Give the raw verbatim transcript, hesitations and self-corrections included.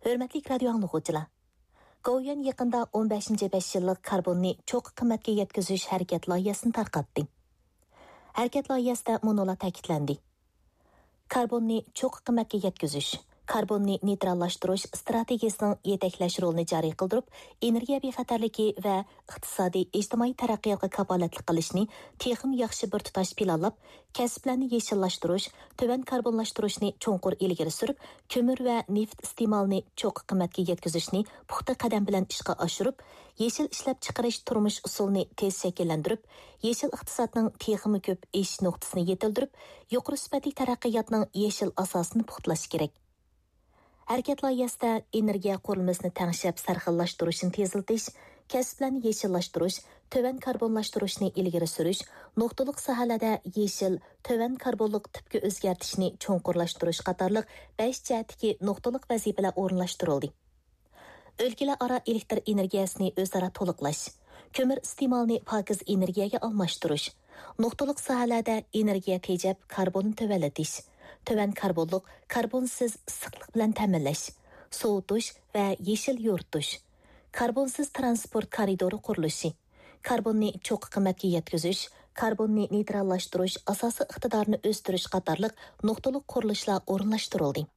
ھۆرمەتلىك رادىيو ئاڭلىغۇچىلار! گوۋۇيۈەن يېقىندا ئون بەشىنچى بەش يىللىق كاربوننى چوققا قىممەتكە يەتكۈزۈش ھەرىكەت لايىھەسىنى تارقاتتى. ھەرىكەت لايىھەسىدە مۇنۇلار تەكىتلەندى: كاربوننى چوققا قىممەتكە يەتكۈزۈش، كاربوننى نېيتراللاشتۇرۇش ئىستراتېگىيەسىنىڭ يېتەكلەش رولىنى جارى قىلدۇرۇپ، ئېنېرگىيە بىخەتەرلىكى ۋە ئىقتىسادىي، ئىجتىمائىي تەرەققىياتقا كاپالەتلىك قىلىشنى تېخىمۇ ياخشى بىر تۇتاش پىلانلاپ، كەسىپلەرنى يېشىللاشتۇرۇش، تۆۋەن كاربونلاشتۇرۇشنى چوڭقۇر ئىلگىرى سۈرۈپ، كۆمۈر ۋە نېفىت ئىستېمالىنى چوققا قىممەتكە يەتكۈزۈشنى پۇختا قەدەم بىلەن ئىشقا ئاشۇرۇپ، يېشىل ئىشلەپچىقىرىش تۇرمۇش ئۇسۇلىنى تېز شەكىللەندۈرۈپ، يېشىل ئىقتىسادنىڭ تېخىمۇ كۆپ ئېشىش نۇقتىسىنى يېتىلدۈرۈپ، يۇقىرى سۈپەتلىك تەرەققىياتنىڭ يېشىل ئاساسىنى پۇختىلاش كېرەك. ھەرىكەت لايىھەسىدە ئېنېرگىيە قۇرۇلمىسىنى تەڭشەپ سەرخىللاشتۇرۇشنى تېزلىتىش، كەسىپلەرنى يېشىللاشتۇرۇش، تۆۋەن كاربونلاشتۇرۇشنى ئىلگىرى سۈرۈش، نۇقتىلىق ساھەلەردە يېشىل، تۆۋەن كاربونلۇق تىپكە ئۆزگەرتىشنى چوڭقۇرلاشتۇرۇش قاتارلىق بەش جەھەتتىكى نۇقتىلىق ۋەزىپىلەر ئورۇنلاشتۇرۇلدى. ئۆلكىلەر ئارا ئېلېكتر ئېنېرگىيەسىنى ئۆزئارا تولۇقلاش، كۆمۈر ئىستېمالىنى پاكىز ئېنېرگىيەگە ئالماشتۇرۇش، نۇقتىلىق ساھەلەردە ئېنېرگىيە تېجەپ كاربوننى تۆۋەنلىتىش، تۆۋەن كاربونلۇق، كاربونسىز ئىسسىقلىق بىلەن تەمىنلەش، سوۋۇتۇش ۋە يېشىل يورۇتۇش، كاربونسىز تىرانسپورت كارىدورى قۇرۇلۇشى، كاربوننى چوققا قىممەتكە يەتكۈزۈش، كاربوننى نېيتراللاشتۇرۇش ئاساسىي ئىقتىدارىنى ئۆستۈرۈش قاتارلىق نۇقتىلىق قۇرۇلۇشلار ئورۇنلاشتۇرۇلدى.